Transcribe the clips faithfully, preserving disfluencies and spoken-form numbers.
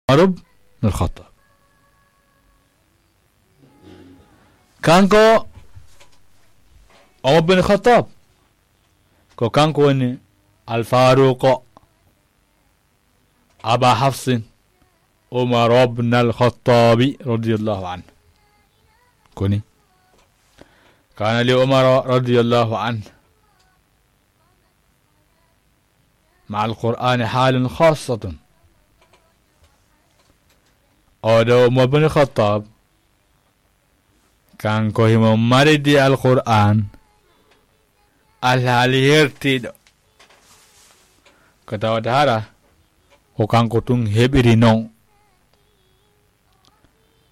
Umar ibn al-Khattab. Kanko Umar bin Khattab, ko kanko woni Al-Faruq Aba Hafsin Umar ibn al-Khattabi radiyallahu anhu. Koni, kana li Umar radiyallahu anhu مع القرآن حال خاصة. Oɗo Umar bin Khattab, kanko himo maridi Alqur'an, alhaali hertiiɗo. Ko tawata hara ko kanko tun heɓiri non.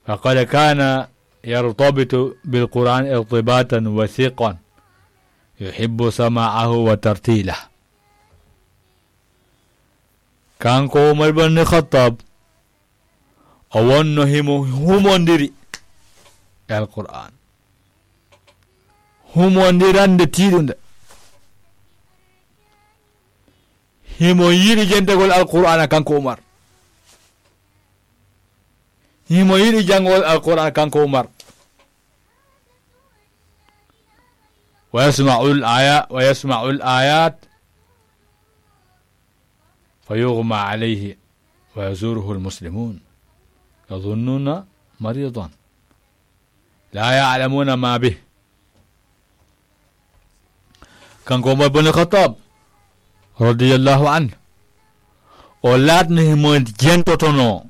فقد كان يرتبط بالقرآن ارتباطا وثيقا يحب سماعه وترتيله. Kanko Umar ibn Khattab, o wonno himo humondiri e Alqur'an. Humondirande tiiɗunde. Himo yiɗi jentagol Alqur'ana kanko Umar. Himo yiɗi janngol Alqur'an kanko Umar. ويسمع الآية، ويسمع الآيات فيغمى عليه ويزوره المسلمون يظنون مريضا لا يعلمون ما به. Kanko Umar bin Khattab, radiyallahu anhu, o laatno himo jentotono,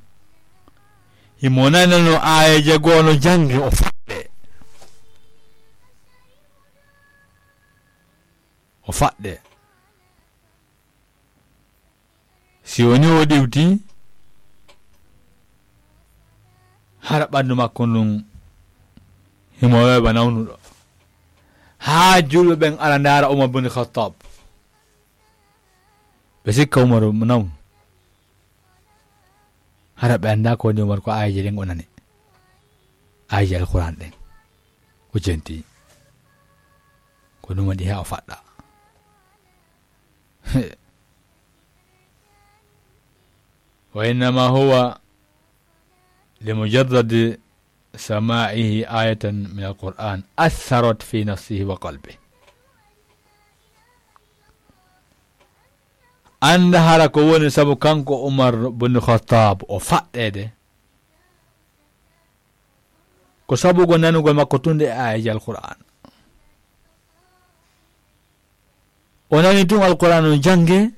himo nanano aayeeje goo no jannge, o faɗɗe. O faɗɗe. Si woni o ɗiwti, hara ɓanndu makko ndun himo weeɓa nawnuɗo. Haa julɓe ɓen ara ndaara Umar bin Khattab. Ɓe sikka Umar mo nawnu. Hara ɓe anndaa ko woni Umar, ko aayeeje ɗen o nani. Aayeeje Alqur'an ɗen o jenti. Ko ɗum waɗi haa o faɗɗa. وإنما هو لمجرد سماعه آية من القرآن أثرت في نفسه وقلبه. Annda hara ko woni sabu kanko Umar bin Khattab o faɗɗeede. Ko sabu ko nanugol makko tun e aayeeje Alqur'an. O nani tun Alqur'an on jannge,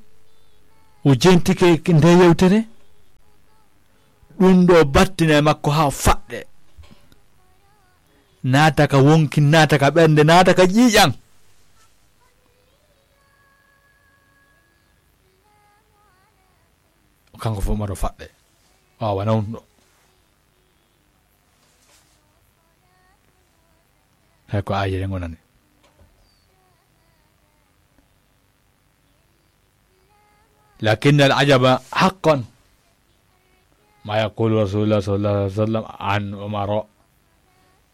o jentike nde yewtere. Ɗum ɗo battina e makko haa o faɗɗe. Naata ka wonki, naata ka ɓernde, naata ka ƴiiƴan. Kanko fof maɗo faɗɗe. Waawa nawnuɗo. Hay ko aayeeje ɗen o nani. لكن العجب حقا ما يقول رسول الله صلى الله عليه وسلم عن عمر: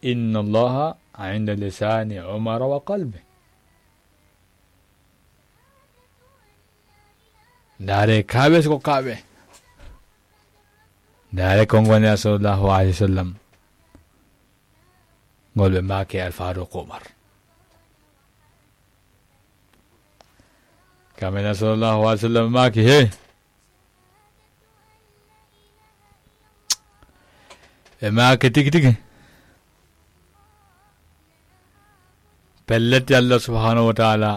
إن الله عند لسان عمر وقلبه. Ndaare kaaɓe, so ko kaaɓe. Ndaare konngol Nelaaɗo sallallahu alayhi wa sallam ngol ɓe maaki e Alfaaruuq Umar. Kanko Nelaaɗo sallallahu alayhi wa sallam maaki, he, ɓe maaki tigi tigi. Pellet, Allah subhanahu wa ta'ala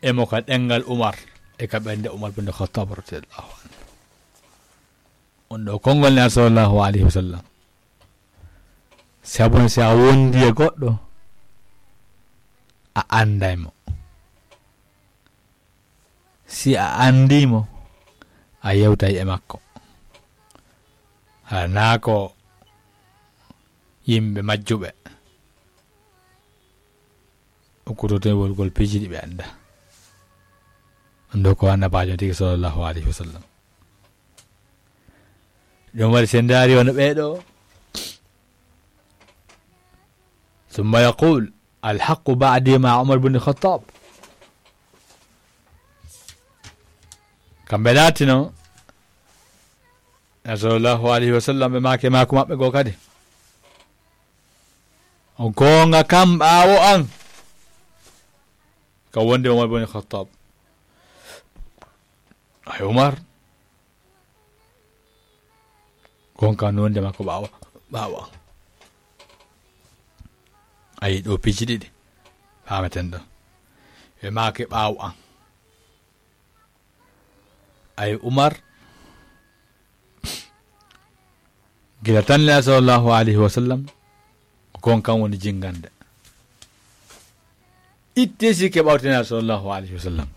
emo ka ɗemngal Umar e ka ɓernde Umar bin Khattab radiyallahu anhu. On ɗo konngol Nelaaɗo sallallahu alayhi wa sallam. Sabu si a wondi e goɗɗo, a annday mo. Si a anndii mo, a yewtay e makko. Hara naa ko yimɓe majjuɓe, ukkototewol ngol piiji ɗi ɓe anndaa. Ɗum ɗo ko Annabaajo tigi, sallallahu alayhi wa sallam. Ɗum waɗi, si en ndaari hono ɓee ɗoo, ثم يقول: الحق بعدي مع عمر بن الخطاب. Kamɓe laatino Naaɓe sallallahu alayhi wa sallam, ɓe maaki e maaku maɓɓe goo kadi, o goonga kam ɓaawo an, ka wonde Umar bun Khattab. Ay Umar, goonga no wonde makko ɓaawo, ɓaawo an. Ayi, ɗo piiji ɗiɗi faameten ɗo. Ɓe maaki ɓaawo an. Ay Umar, gila tan Naaɓe sallallahu alayhi wa sallam, ko kon kan woni jingande. Itte sikke ɓawte Naaɓe sallallahu alayhi wa sallam.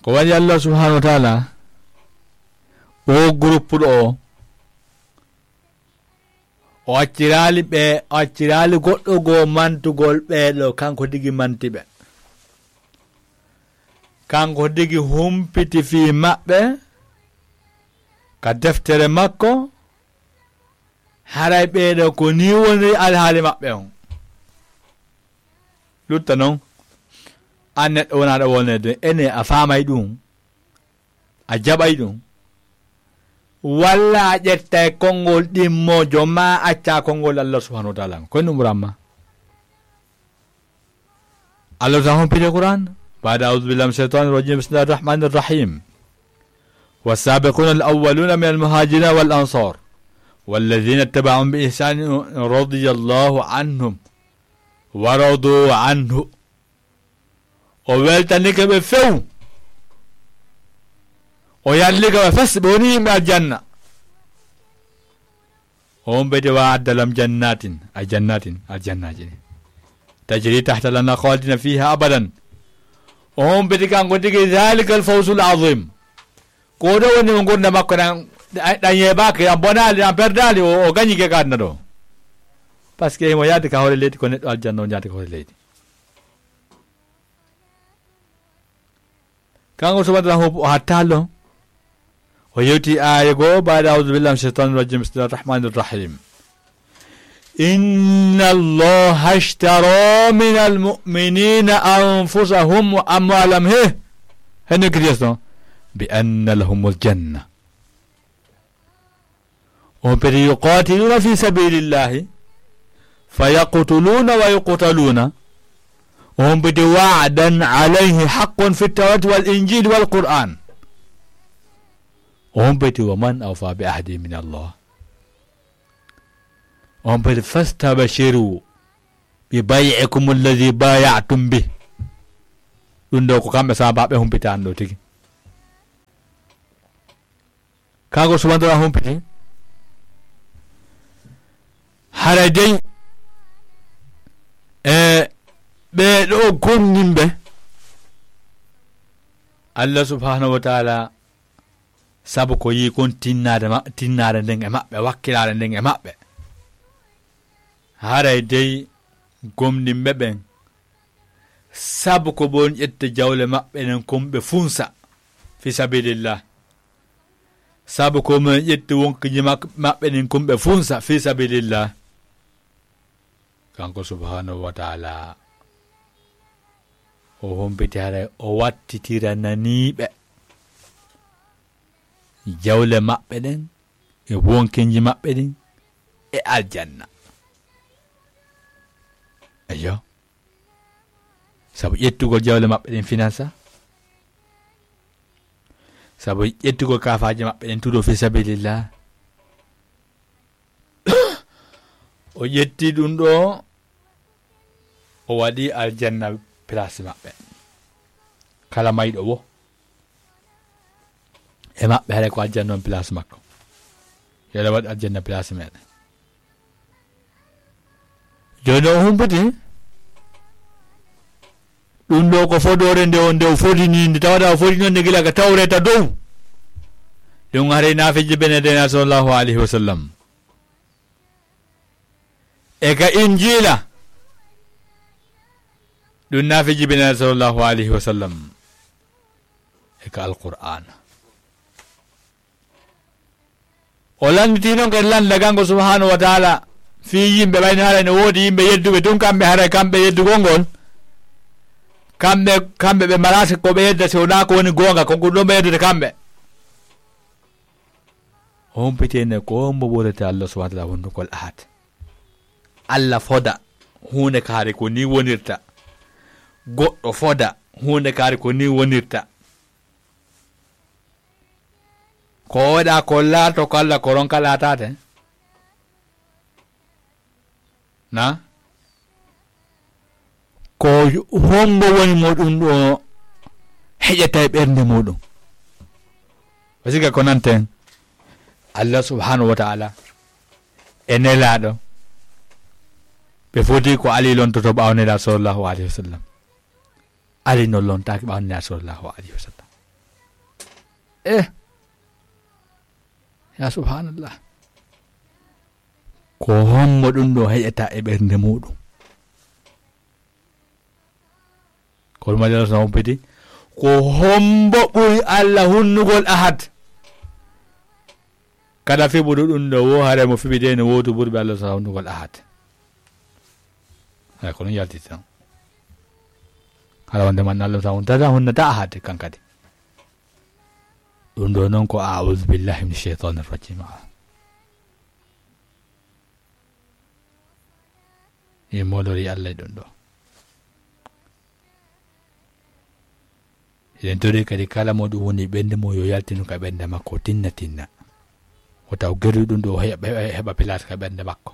Ko waɗi Allah subhanahu wa taala, o groupe ɗo o, o acciraali ɓe, o acciraali goɗɗo goo mantugol ɓee ɗo, kanko tigi manti ɓe. Kanko tigi humpiti fii maɓɓe ka deftere makko, haray ɓee ɗo ko nii woni alhaali maɓɓe on. Lutta non, an neɗɗo wonaaɗo wolneede, ene a faamay ɗum? A jaɓay ɗum? Walla a ƴettay konngol ɗimmoojo, maa accaa konngol Allah subhanahu wa taala? Ko ɗum ɓuramma. Allah subhanahu wa taala humpiti Qur'an. بعد أعوذ بالله من الشيطان الرجيم. بسم الله الرحمن الرحيم. والسابقون الأولون من المهاجرين والأنصار والذين اتبعهم بإحسان رضي الله عنهم ورضوا عنه. O weltanike ɓe few. O yallike ɓe fes, ɓe woni yimɓe aljanna. O humpiti وأعد لهم جنات, ay jannatin, aljannaaji ɗi, تجري تحتها الأنهار خالدين فيها أبدا. O humpiti kanko tigi ذلك الفوز العظيم. Ko ɗo woni mo ngurndan makko ɗan, ɗan yeebaaki, ɗan bonaali, ɗan perdaali, o, o gañike ka aduna ɗo. Parce que himo yaade ka hoore leydi, ko neɗɗo aljanna o yaade ka hoore leydi. Kanko subhanahu wa taala o hattaali ɗon. O yewti aaya goo, بعد أعوذ بالله من الشيطان الرجيم. بسم الله الرحمن الرحيم. إن الله اشترى من المؤمنين أنفسهم وأموالهم, he, heno kiriyesto, بأن لهم الجنة. O humpiti يقاتلون في سبيل الله فيقتلون ويقتلون. O humpiti وعدا عليه حق في التوراة والإنجيل والقرآن. O humpiti ومن أوفى بعهده من الله. O humpiti فاستبشروا ببيعكم الذي بايعتم به. Ɗum ɗo ko kamɓe sahaabaaɓe humpitaani ɗo tigi. Kanko subhanahu wa taala humpiti. Haray dey, e ɓee ɗo gomɗinɓe Allah subhanahu wa taala, sabu ko yii kon tinnaade ma-, tinnaade nden e maɓɓe, wakkilaare nden e maɓɓe. Haray dey gomɗinɓe ɓen, sabu ko ɓe woni ƴette jawle maɓɓe ɗen kon ɓe funsa fi sabilillah. Sabu ko ɓe woni ƴette wonkiiji mak-, maɓɓe ɗin kon ɓe funsa fi sabilillah. Kanko subhanahu wa taala, o humpiti haray o wattitiranii ɓe jawle maɓɓe ɗen e wonkiiji maɓɓe ɗin e aljanna. Eyyo. Sabu ƴettugol jawle maɓɓe ɗen finansa, sabu ƴettugol kaafaaje maɓɓe ɗen tuudo fi sabilillah. O ƴetti ɗum ɗo, o waɗi aljanna place maɓɓe. Kala mayɗo wo e maɓɓe, haray ko aljanna on place makko. Yo Allah waɗ aljanna place meɗen. Jooni o humpiti. Ɗum ɗo ko fodoore nde o, nde o fodini, nde tawata o fodino nde gila ka Tawreeta dow. Ɗum haray naafeeji bene dena sallallahu alayhi wa sallam. E ka Injiila. Ɗum naafeeji bene sallallahu alayhi wa sallam. E ka Alqur'aana. O lannditi non kadi lannda kanko subhanahu wa taala fii yimɓe, ɓayno haray no woodi yimɓe yedduɓe tun kamɓe, haray kamɓe yeddugol ngol, kamɓe, kamɓe ɓe maraaka ko ɓe yedda si wonaa ko woni goonga, ko ɗum ɗon ɓe yeddata kamɓe. O humpiti en ko hombo ɓurata Allah subhanahu wa ta'ala hunndugol ahad. Allah foda huunde kaari ko ni wonirta. Goɗɗo foda huunde kaari ko ni wonirta. Ko o waɗa ko laato ko Allah ko ronka laataade. Na? Ko hombo woni mo ɗum ɗo heƴata e ɓernde muɗum? Parce que ko nanten Allah subhanahu wa ta'ala e nelaaɗo, ɓe foti ko Ali lontoto ɓaawo nelaaɗo sallallahu alayhi wa sallam. Ali no lontaaki ɓaawo nelaaɗo sallallahu alayhi wa sallam. Eh, ya subhanallah. Ko hombo ɗum ɗo heƴata e ɓernde muɗum? Ko ɗum Allah subhanahu wa ta'ala humpiti. Ko hombo ɓuri Allah hunnugol ahad? Kala fiɓuɗo ɗum ɗo wo hare mo fiɓide no wootu ɓurɓe Allah subhanahu wa ta'ala hunnugol ahad. Hay ko ɗum yaltiti tan. Hara wonde man Allah subhanahu wa ta'ala hunnata ahad kan kadi. Ɗum ɗo noon ko a'udhu billahi minash shaitanir rajim. E molori Allah e ɗum ɗo. Eɗen tori kadi kala mo ɗum woni ɓernde mum yo yaltinu ka ɓernde makko tinna tinna. O taw geru ɗum ɗo heɓa, heɓa place ka ɓernde makko.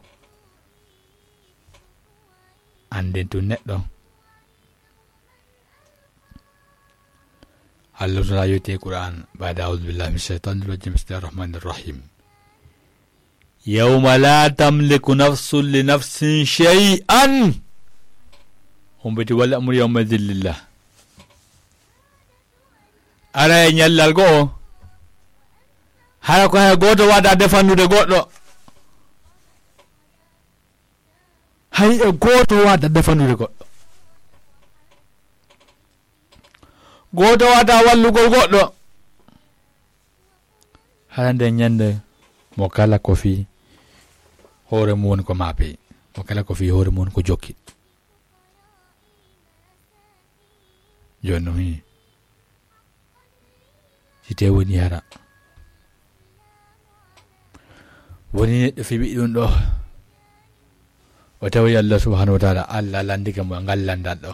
Annden tun neɗɗo. Allah subhanahu wa ta'ala yewti e Qur'an, بعد أعوذ بالله من الشيطان الرجيم، بسم الله الرحمن الرحيم. يوم لا تملك نفس لنفس شيئا. Humpiti والأمر يومئذ لله. Ara e ñallal goo, hara ko hay gooto waada defandude goɗɗo. Hay e gooto waada defandude goɗɗo. Gooto waada wallugol goɗɗo. Hara nden ñande mo kala ko fii hoore mum woni ko maapi, mo kala ko fii hoore mum woni ko jokki. Jooni noon, hii. Si tee woni hara. Woni neɗɗo fiɓi ɗum ɗo. O tawi Allah subhanahu wa ta'ala, Allah lanndike mo e ngal lanndal ɗo.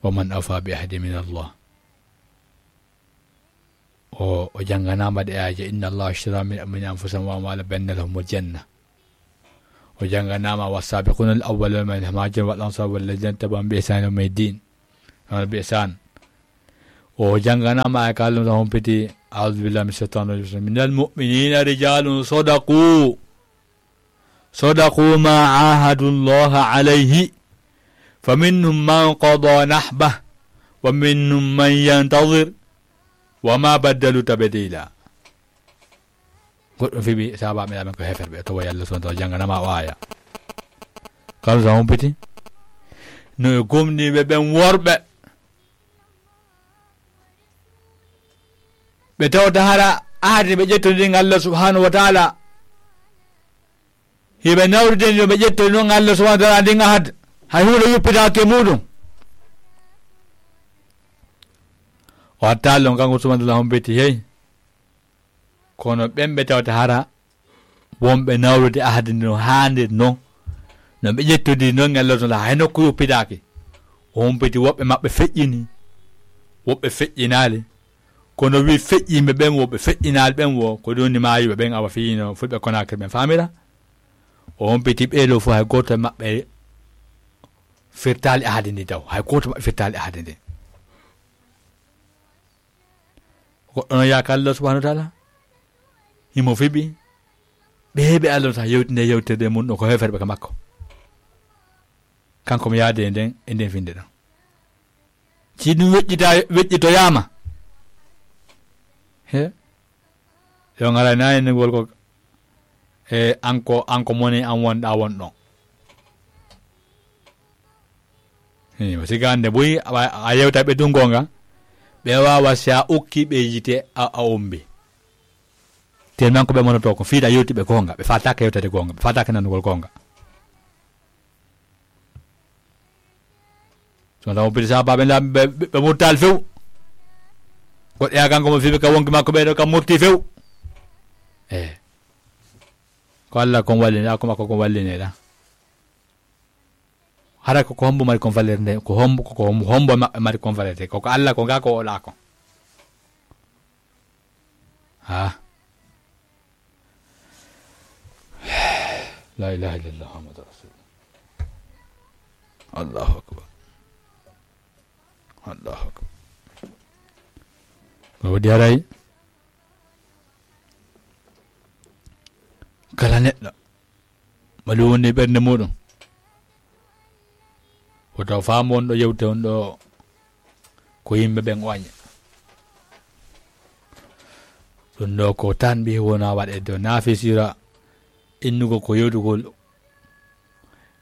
ومن أوفى بعهده من الله. O, o jannganaama ɗe aaje, إن الله اشترى من المؤمنين أنفسهم وأموالهم بأن لهم الجنة. O jannganaama والسابقون الأولون من المهاجرين والأنصار والذين اتبعوهم بإحسان إلى يوم الدين. Hono بإحسان. O jannganaama ay kalɗum tan humpiti, أعوذ بالله من الشيطان الرجيم. من المؤمنين رجال صدقوا صدقوا ما عاهدوا الله عليه فمنهم من قضى نحبه ومنهم من ينتظر وما بدلوا تبديلا. Goɗɗum fiɓi sahaabaaɓe men ko heeferɓe, tawa Yalla subhaanahu wa ta'aala jannganaama o aaya. Kam sa humpiti no e gomɗinɓe ɓen worɓe. Ɓe tawta hara ahadi ɓe ƴettondiri ngal Allah subhaanahu wa ta'aala. Hiɓe nawride no ɓe ƴettondiri non Allah subhaanahu wa ta'aala ndin ahad. Hay huunde yuppitaaki e muuɗum. O hattaali on kanko subhaanahu wa ta'aala humpiti hey. Kono ɓen ɓe tawta hara wonɓe nawrude ahadi no haaniri non, no ɓe ƴettondiri non e Allah subhaanahu wa ta'aala, hay nokku yuppitaaki. O humpiti woɓɓe maɓɓe feƴƴini, woɓɓe feƴƴinaali. Kono wi feƴƴiiɓe ɓen, woɓɓe feƴƴinaali ɓen wo, ko ɗum woni maayuɓe ɓen, awa fiyino fulɓe Konaakiri ɓen faamira. O humpiti ɓee ɗoo fof hay gooto e maɓɓe firtaali ahadi ndi taw, hay gooto maɓɓe firtaali ahadi ndi. Goɗɗo no yaaka Allah subhaanahu wa ta'aala, himo fiɓi, ɓe heɓi Allah sa yewtinde yewterde mum ɗo ko heeferɓe ka makko. Kanko mo yaade e nden, e nden finde ɗon. Si ɗum weƴƴita, weƴƴitoyaama, he, yo ngaray na e ngol ko, e, an ko, an ko moni an wonɗa won ɗon. Hii, o siga hannde buy, a, a yewta ɓe tun goonga, ɓe waawa si a ukki ɓe yite a, a ombi. Tellement ko ɓe monoto ko fiita yewti ɓe goonga, ɓe faataaka yewtade goonga, ɓe faataaka nanugol goonga. So taw pidi sahaabaaɓe la, ɓe, ɓe, ɓe murtaali few. Goɗɗo yaa kanko mo fiɓe ka wonki makko ɓe ɗo ka murti few. E ko Allah kon wallinɗa, ko makko kon wallinɗa. Hara ko, ko hombo mari kon valeur nde, ko hombo, ko, ko hombo, hombo maɓɓe mari kon valeur te, ko, ko Allah ko ga ko ola ko. Ha. La ilaha illallah Muhammadu Rasulullah. Allahu akbar. Allahu akbar. Ko waɗi haray kala neɗɗo mbaɗi wonde e ɓernde muɗum, woto faamu on ɗo yewte on ɗo ko yimɓe ɓen o aña. Ɗum ɗo ko tan mbi wona waɗe do nafisira innugol ko yewtugol.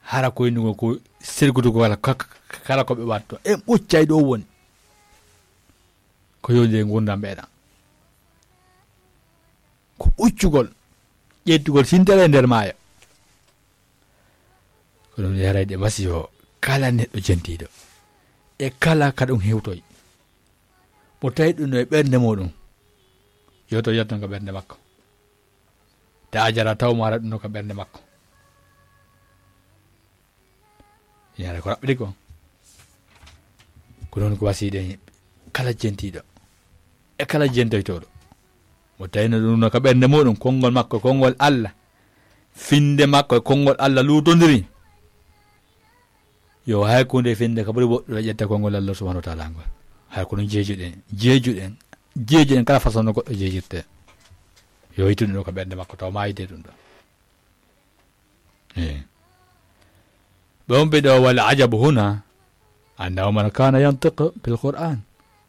Hara ko innugol ko sergutugol kala, ka-, ka-, kala ko ɓe watto. En ɓuccay ɗo woni. Ko yewde e ngurdam ɓeɗa. Ko ɓuccugol, ƴettugol sintere e nder maayo. Ko ɗum yarayde masiibo kala neɗɗo jentiiɗo. E kala ka ɗum hewtoy. Mo tawi ɗum no e ɓernde muɗum. Yo to yotto nga ɓernde makko. Ta jara taw mo ara ɗum no ka ɓernde makko. Yaare ko raɓɓiɗi ko. Ko noon ko wasiiɗen kala jentiiɗo. E kala jentoytooɗo. Mo tawi no ɗum no ka ɓernde muɗum, konngol makko, konngol Allah. Finnde makko e konngol Allah luutondiri. Yo hay kunde finnde ka ɓuri woɗɗude ƴetta konngol Allah subhanahu wa taala ngol. Hay ko ɗum jeejuɗen, jeejuɗen, jeejuɗen kala façon no goɗɗo jeejirte. Yo yittu ɗum ɗo ka ɓernde makko, taw ma yidde ɗum ɗo. Eh. Ɓe on ɓe ɗo wala ajabu huna, anna Umar kana yantiqu bil Qur'an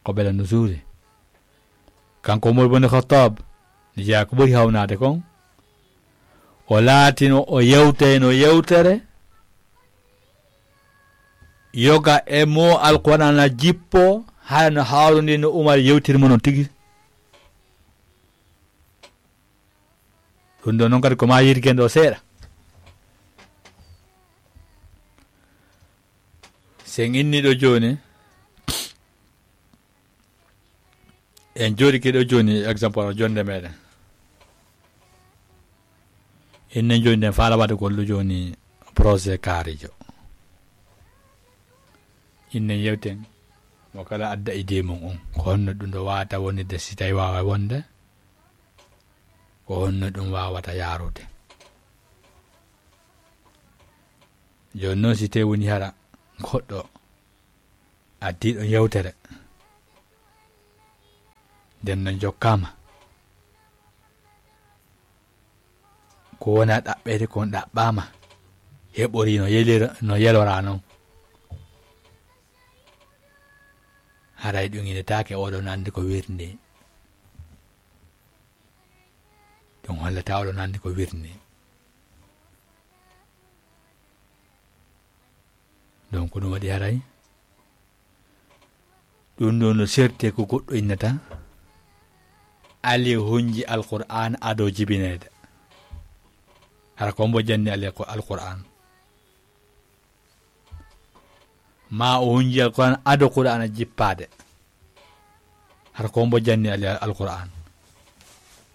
qabla nuzuli. Kanko Umar bin Khattab, ni jeyaa ko ɓuri hawnaade kon, o laatino o yewtayno yewtere, yoga e mo Alqur'aana jippo, hara no hawrundi no Umar yewtiri mo non tigi. Ɗum ɗo noon kadi ko ma yirgen ɗo seeɗa. Sen inni ɗo jooni, en jooɗike ɗo jooni, exemple, o jonde meɗen. Innen jooni nden faala waɗugol ɗo jooni projet kaarijo. Innen yewten mo kala adda idée mum on. Ko honno ɗum ɗo waawata wonirde si tawi waawa wonde? Ko honno ɗum waawata yaarude? Jooni noon si tawi woni hara goɗɗo addi ɗon yewtere, nden no jokkaama. Ko wona ɗaɓɓeede kon ɗaɓɓaama, heɓori no yelira-, no yelora non. Haray ɗum inetaake oɗon anndi ko wirnde. Ɗum hollata oɗon anndi ko wirnde. Donc, ko ɗum waɗi haray. Ɗum ɗo no serte ko goɗɗo innata. Ali hunji Alqur'aan ado jibineede. Hara ko mbo janni Ali ko Alqur'aan. Ma o hunji Alqur'aan ado Qur'aana jippaade. Hara ko mbo janni Ali Alqur'aan.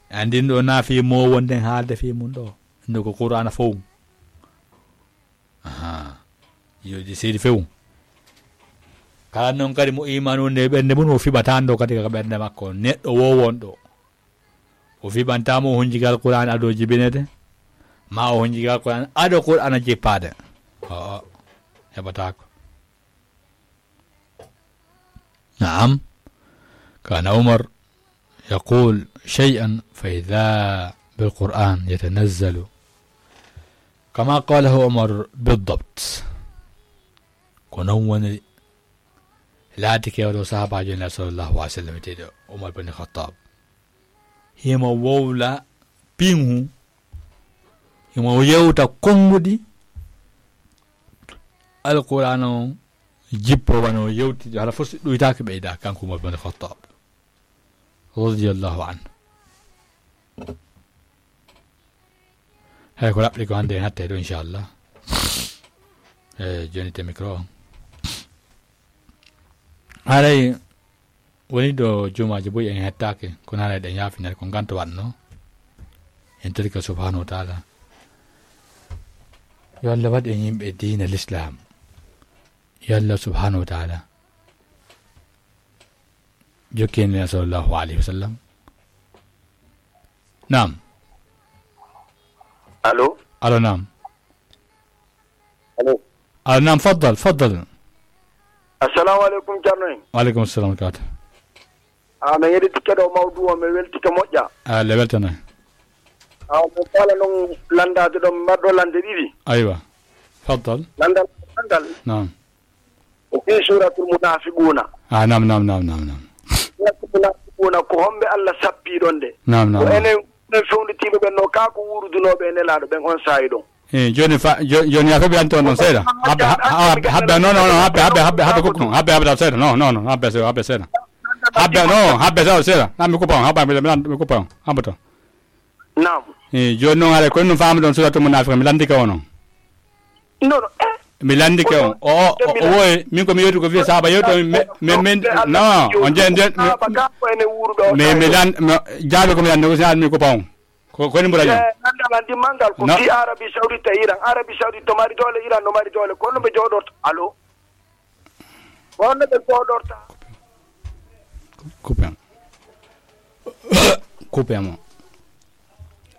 Andin ɗo na fi mo wonden haalde fi mun ɗo. Ndo ko Qur'aana fow. Aha. Yo ɗi seydi few. Kala noon kadi mo iman wonde e ɓernde mum, o fiɓata ɗo kadi ka ɓernde makko. Neɗɗo wo won ɗo. O fiɓanta mo o hunji gal Qur'aan ado jibinede. Ma o hunji gal Qur'aan ado Qur'aana jippaade. O, o. Heɓataako. نعم. كان عمر يقول شيئا فإذا بالقرآن يتنزل كما قاله عمر بالضبط. Ko noon woni laati kewɗo sahaabaajo Nulaaɗo sallallahu alaihi wasallam, wiyeteeɗo Umar bin Khattab. Himo wowla piŋu, himo yewta konnguɗi Alqur'aana on jippo wano yewti, hara fof si ɗuytaaki ɓeyda, kanko Umar bin Khattab. Radiyallahu anhu. Hay ko raɓɓi ko hannde en hatte ɗo, inchallah. E, joni te micro o. Haray woni ɗo jumaaji buy en hettaaki, kono haray ɗen yaafinere ko nganto waɗno. En torike subhanahu wa taala, yo Allah waɗ en yimɓe diina l'islam. Yo Allah subhanahu wa taala jokki en e sallallahu alayhi wa sallam. Naam. Allo. Allo, naam. Allo. Allo, naam, faddal, faddal. Assalamu aleykum, Ceerno en. Wa aleykum assalam wa rahmatullahi. A, min yeɗi tikke ɗo mawdu o, min weltike moƴƴa. A, le weltanay. A, min faala noon lanndaade ɗo, min mbaɗɗo lannde ɗiɗi. Aywa. Faddal. Lanndal, lanndal. Naam. Ko fii suuratul munaafiquuna. A, naam, naam, naam, naam, naam. Suuratul munaafiquuna, ko homɓe Allah sappii ɗon de? Naam, naam, Ko naam. enen, enen fewnditiiɓe ɓen no kaa ko wuurudunooɓe e Nelaaɗo ɓen on saa'i ɗon. Eh, jooni fa-, jo-, jooni yaa fof ɓe anndi on ɗon seeɗa. Habbe, ha-, ha-, habbe, habbe, non, non, non, habbe, habbe, habbe, habbe, kuku, habbe, habbe, seeɗa. Non, non, non, habbe, seeɗa, habbe, seeɗa. Habbe, non, habbe, seeɗa, seeɗa. Nan mi kupa on, habbe, mi, mi, mi kupa on, habbe to. Naam. Eh, jooni noon haray ko ɗum faami ɗon suuratul munaafiqun, mi lanndike on noon. Non, non, eh. Mi lanndike on. O, o, o, o woye, min ko mi yewti ko fii sahaaba yewto, mi, mi, min, non, on je-, je-, mi, Sahaaba ka ko enen wuuruɓe o mi, mi lan-, mi, jaabi ko mi lanndi, ko si mi kupa on. Ko, ko ni mbura ñoo? Eh, nandal an dimmal ngal ko No. fii Arabie Saoudite e Iran. Arabie Saoudite no mari doole, Iran no mari doole. Ko honno ɓe jooɗorta? Allo? Ko honno ɓe jooɗorta? Coupé mo. Coupé mo.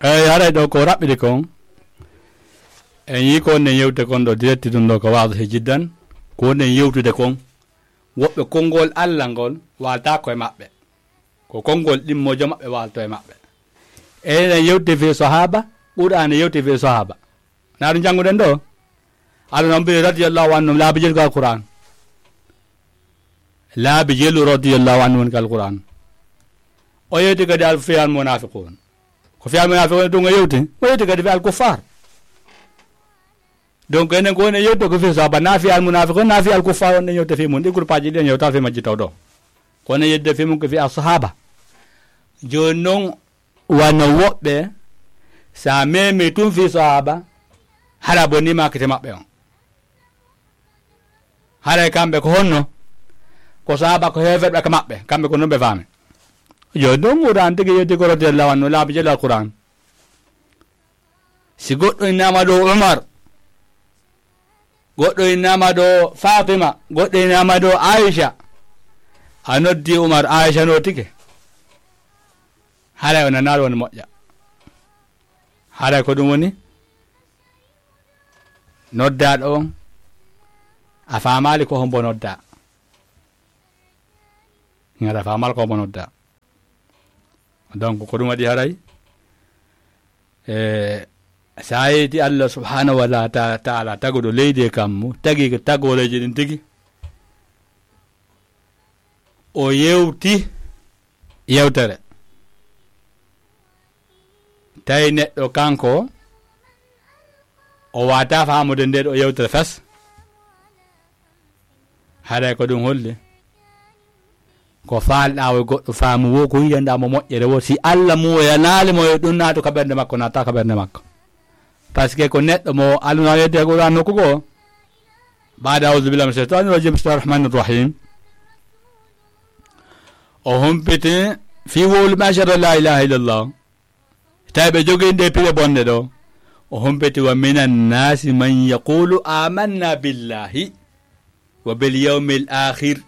Eyi, haray ɗo ko raɓɓiɗi kon. En yii ko onnen yewte kon ɗo direct ɗum ɗo ko waadihi jiddan. Ko onnen yewtude kon. Woɓɓe konngol Allah ngol waaltaako e maɓɓe. Ko konngol ɗimmojo maɓɓe waalto e maɓɓe. Enen en yewti fii sahaaba, Qur'aana yewti fii sahaaba. Na ɗum jannguɗen ɗo? Allah noon mbiyi radiyallahu anhum laabi jelu ka Qur'aan. Laabi jelu radiyallahu anhum woni ka Qur'aan. O yewti kadi al-, fii al-munaafiquun. Ko fii al-munaafiquun ɗum o yewti. O yewti kadi fii al-kuffaar. Donc, enen ko woni yewtude ko fii sahaaba, na fii al-munaafiquun, na fii al-kuffaar, on en yewta fii mum. Ɗi groupe aji ɗi en yewta fii majji taw ɗo. Kono yedde fii mum ko fii al-sahaaba. Jooni noon, wano woɓɓe, sa memi tun fii sahaaba, hara boniima kite maɓɓe on. Haray kamɓe ko honno? Ko sahaaba ko heeferɓe ka maɓɓe, kamɓe ko non ɓe faami. Jooni noon, Qur'aan tigi yewti ko radiyallahu anhu, laabi jelu al-Qur'aan. Si goɗɗo innama ɗo Umar, goɗɗo innama ɗo Fatima, goɗɗo innama ɗo Aisha, a noddi Umar, Aisha no tike. Haray o nanaali woni moƴƴa. Haray ko ɗum woni noddaaɗo on, a faamaali ko hombo noddaa. Ngara faamaali ko hombo noddaa. Donc, ko ɗum waɗi haray, e, sa yeyti Allah subhanahu wa ta-, taala, taguɗo leydi e kammu, tagi tagooreeji ɗin tigi, o yewti yewtere. Tawi neɗɗo kanko, o wata faamude nde ɗo yewtere fes. Haray ko ɗum holli? Ko faalɗaa wo goɗɗo faamu wo, ko yiɗanɗaa mo moƴƴere wo, si Allah muuyanaali mo, yo ɗum naatu ka ɓernde makko, naata ka ɓernde makko. Parce que ko neɗɗo mo Allah na wiyete Qur'aan nokku goo. Baada a'uuzu billaahi mina shaytaani rajiim, bismillaahi rahmaani rahiim. O humpiti fii wowluɓe ashhadu an laa ilaaha illallaah. Tawi ɓe jogii nde pire bonde ɗo. O humpiti, "Wa minan naasi man yaquulu aamanna billaahi wa bil yawmil aakhir."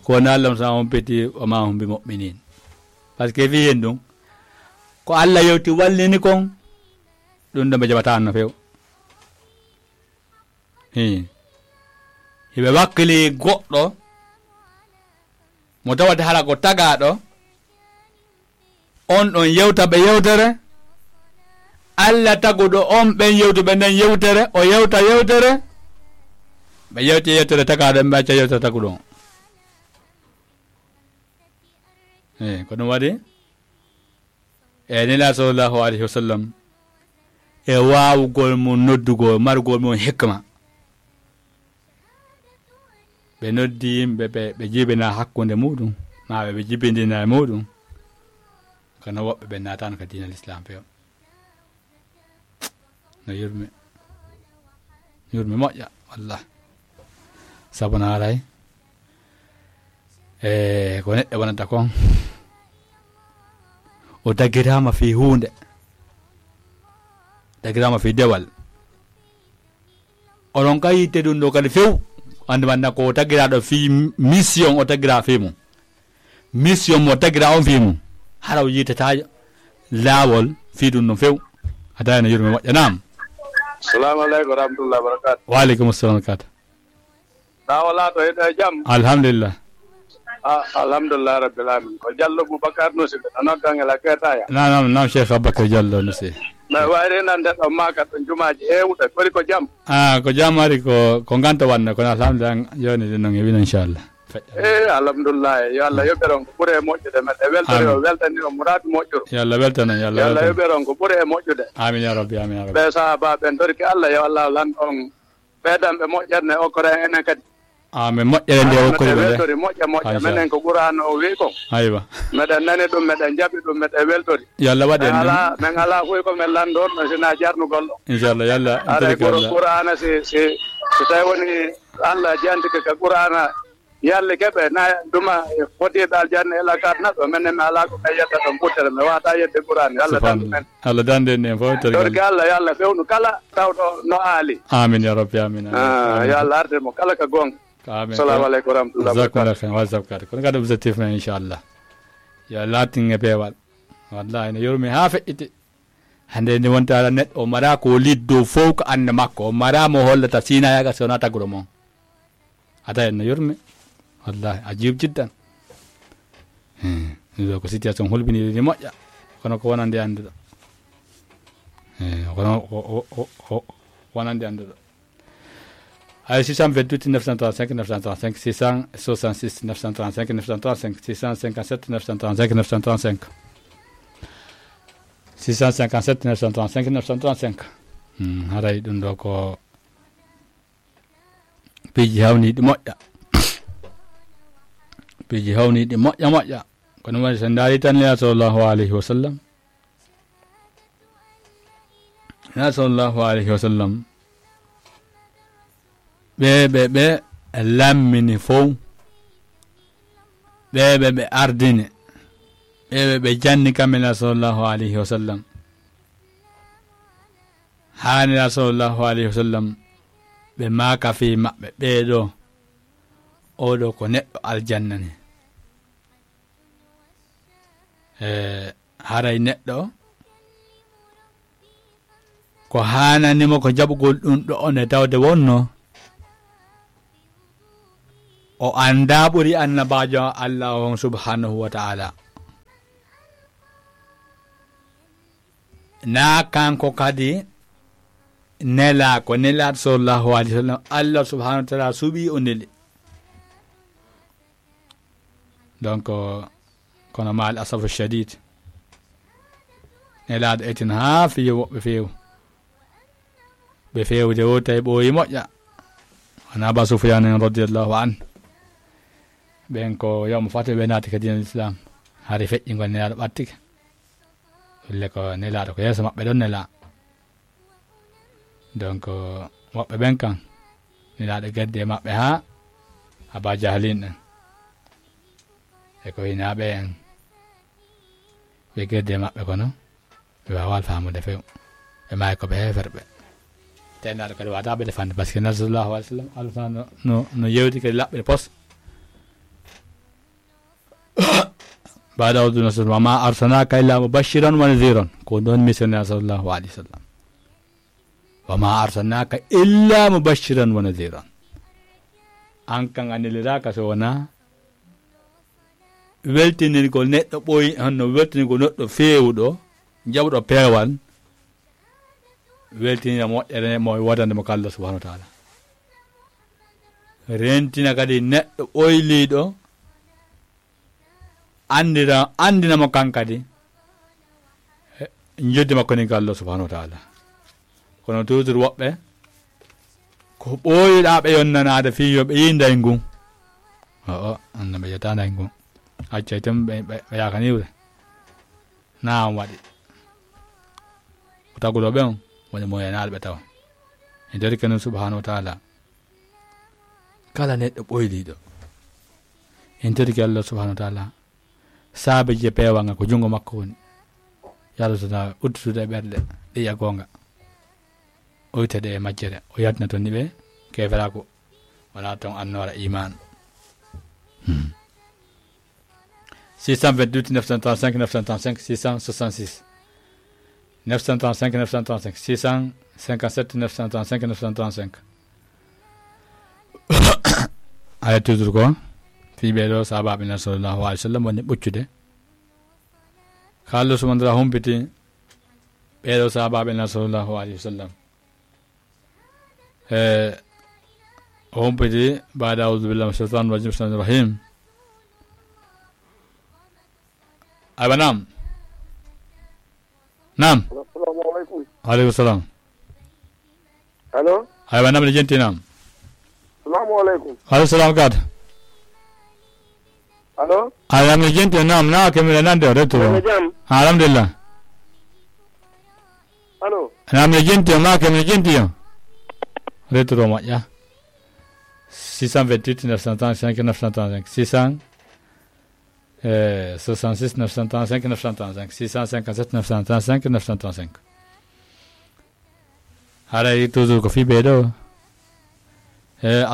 Ko woni Allah sa humpiti, "Wa maa hum bi mu'miniin." Parce que fii hen ɗum, ko Allah yewti wallini kon, ɗum ɗo ɓe jaɓataa no few. Hii. Hiɓe wakkili goɗɗo mo tawata hara ko tagaaɗo, on ɗon yewta ɓe yewtere. Allah taguɗo on ɓen yewtuɓe nden yewtere, o yewta yewtere. Ɓe yewti yewtere tagaaɗo, ɓe acca yewtere taguɗo on. Hii, ko ɗum waɗi? E Nelaaɗo sallallahu alayhi wa sallam, e waawugol mum noddugol, margol mum hikma. Ɓe noddi yimɓe ɓe, ɓe jibina hakkunde muɗum, maa ɓe, ɓe jibindina e muɗum. Kono woɓɓe ɓe naataano ka diina Lislaam few. No yurmi. Yurmi moƴƴa, wallah. Sabu na haray, e, ko neɗɗo wonata kon, o daggiraama fii huunde. tagiraama fii dewal. Oɗon ka yitte ɗum ɗo kadi few. Anndi man na ko tagiraaɗo fii mission o tagiraa fii mum. Mission mo tagiraa on fii mum. Hara o yittataa laawol fii ɗum ɗum few. A tawi no yurme moƴƴa, naam. Salamu aleykum wa rahmatullahi wa barakatuh. Wa aleykum salam wa barakatuh. Na wala to eɗo e jam? Alhamdulillah. Ah, alhamdulillah rabbil alamin. Ko Jallo Boubacar Nousi ɓe, no noddan e la Ketaya. Naam, naam, naam, Cheikh Aboubacar Jallo Nousi. Mais wayri nan nde ɗon maka ɗon jumaaji heewuɗe, kori ko jam? Ah, ko jam ari ko, ko nganta wanne, kono alhamdulillah, jooni ɗin non e wino inchallah. Eh, alhamdulillah, yo Allah yoɓere on ko ɓuri e moƴƴude, meɗe weltori o, amin, weltani o muraadu moƴƴuru. Yo Allah weltan on, yo Allah, yo Allah weltan on. Yoɓere on ko ɓuri e moƴƴude. Amin ya rabbi, amin ya rabbi. Ɓe sahaba ɓen torki Allah, yo Allah lan on ɓeydanɓe moƴƴere nde okkora en enen kadi. Ah, min moƴƴere nde okkori ɓe nde. Weltori moƴƴa moƴƴa. Menen ko Qur'an o wi ko. Aywa. Meɗen nani ɗum, meɗen jaɓi ɗum, meɗen weltori. Yo Allah waɗ en ɗum. Min alaa fof ko min lanndorno sina jarnugol ɗo. Inchallah, yo Allah. Aray ɓuro Qur'ana si, si, si tawi woni Allah jantike ka Qur'ana, yalli keɓe na duma e fotiiɓe aljanna ila kat naɓɓe. Menen mi alaa ko ɓe yetta ɗon ɓuttere, mi wata yedde Qur'an. Yo Allah dandu men. Allah dandu en fof. Torki Allah, yo Allah fewnu kala tawɗo no aali. Amin ya rabbi, amin, amin. Ah, amin. Yo Allah artir mo kala ka goonga. Amin. Assalamu aleykum wa rahmatullahi wa barakatuh. Jazakumullahu khairan, wa jazakumullahu khairan. Kono kadi objectif men, inchallah. Yo laatin e peewal. Wallahi, no yurmi haa feƴƴiti. Hannde ni wonta ala neɗɗo o mara ko liddo fof ko annde makko. O mara mo hollata sina yaga so wona taguro mon. A tawi no yurmi. Wallahi, ajib jiddan. Hmm. Ɗum ɗo ko situation hulɓiniiɗo ni moƴƴa. Kono ko wonande annduɗo. Eh, kono ko, ko, ko, ko wonande annduɗo. Ay, six cent vingt-huit neuf cent trente-cinq neuf cent trente-cinq, six cent soixante-six neuf cent trente-cinq neuf cent trente-cinq, six cent cinquante-sept neuf cent trente-cinq neuf cent trente-cinq. Six cent cinquante-sept neuf cent trente-cinq neuf cent trente-cinq. Hmm, haray ɗum ɗo ko piiji hawniiɗi moƴƴa. Piiji hawniiɗi moƴƴa, moƴƴa. Kono woni so ndaari tan Nela sallallahu alayhi wa sallam. Nela sallallahu alayhi wa sallam. Ɓe, ɓe, ɓe lammini fow. Ɓe, ɓe, ɓe ardini. Ɓe, ɓe, ɓe janni kam Nela sallallahu alayhi wa sallam. Haa Nela sallallahu alayhi wa sallam, ɓe maaka fii maɓɓe, ɓee ɗo, oo ɗo ko neɗɗo aljanna ni. E, haray neɗɗo, ko haanani mo ko jaɓugol ɗum ɗo on e tawde wonno, o anndaa ɓuri annabaajo Allah on subhanahu wa ta'ala. Naa kanko kadi nelaa ko nelaaɗo sallallahu alayhi wa sallam, Allah subhanahu wa ta'ala suɓii o neli. Donc, kono maal asafu shadid, nelaaɗo etin haa fiyo woɓɓe feew. Ɓe feewde o tawi ɓooyi moƴƴa. Wona Aba Sufyan en radiyallahu anhu. Ɓen ko yawma fatu ɓe naati ka diinal Islam. Hari feƴƴingol nelaaɗo ɓattike. Ɗulle ko nelaaɗo ko yeeso maɓɓe ɗon nelaa. Donc, woɓɓe ɓen kan, nelaaɗo gaddi e maɓɓe haa Aba Jahlin en. E ko hinaaɓe en. Ɓe gaddi e maɓɓe kono, ɓe waawaa faamude few. Ɓe maayi ko ɓe heeferɓe. Te nelaaɗo kadi waɗaa ɓe defande, parce que nelaaɗo sallallahu alayhi wa sallam, Allah no, no, no yewti kadi laɓɓe pos. Baada a'uudu billahi, wa ma arsalnaaka illa mubashiran wa nadhiran. Ko ɗon missionnaire sallallahu alayhi wa sallam. Wa ma arsalnaaka illa mubashiran wa nadhiran. An kan a neliraaka so wonaa weltinirgol neɗɗo ɓooy, honno weltinirgol neɗɗo feewuɗo, jaɓuɗo peewal, weltinira moƴƴere mo woodande mo ka Allah subhanahu wa ta'ala. Rentina kadi neɗɗo ɓoyliiɗo, anndira, anndina mo kan kadi, eh, njeddi makko ni ka Allah subhanahu wa ta'ala. Kono toujours woɓɓe, ko ɓooyuɗaa ɓe yonnanaade fii yo ɓe yiy nday ngun. O'o, anna ɓe yetta nday ngun. Accay tan ɓe, ɓe, ɓe yaakaniwre. Naam waɗi. Ko taguɗo ɓe on, woni mo yenaaɗo ɓe tawa. E nder kenen subhanahu wa ta'ala. Kala neɗɗo ɓoyliiɗo. En torike Allah subhanahu wa ta'ala. Saabe je peewal ngal ko junngo makko woni. Yo Allah tana uddude e ɓerɗe, ɗe yiya goonga. ɓoytaɗe e majjere, o yaltina toon ni ɓe keeferaaku, wonaa toon annoora iman. Hmm. Six cent vingt-huit neuf cent trente-cinq neuf cent trente-cinq, six cent soixante-six neuf cent trente-cinq neuf cent trente-cinq, six cent cinquante-sept neuf cent trente-cinq neuf cent trente-cinq. Haya, toujours ko fii ɓee ɗoo sahaabaaɓe Nulaaɗo sallallahu alayhi wa sallam woni ɓoccude. Kaalɗo sumandira humpiti ɓee ɗoo sahaabaaɓe Nulaaɗo sallallahu alayhi wa sallam. E, o humpiti baada, "Audu billahi mina shaytani rajim, bismillahi rahim." Aywa, naam. Naam. Assalamu alaikum. Wa alaikum salam. Allo? Aywa, naam, ne jenti, naam. Assalamu alaikum. Wa alaikum salam, gad. Allo? Aywa, naam, ne jenti, naam, na kemira nande o, retro. Wala jam? Alhamdulillah. Allo? Naam, ne jenti, ma kemira jenti o. Retro moƴƴa. Six cent vingt-huit neuf cent trente-cinq neuf cent trente-cinq. Six cent, eh, soixante-six neuf cent trente-cinq neuf cent trente-cinq. Six cent cinquante-sept neuf cent trente-cinq neuf cent trente-cinq. Haray toujours ko fii ɓee ɗoo. Eh,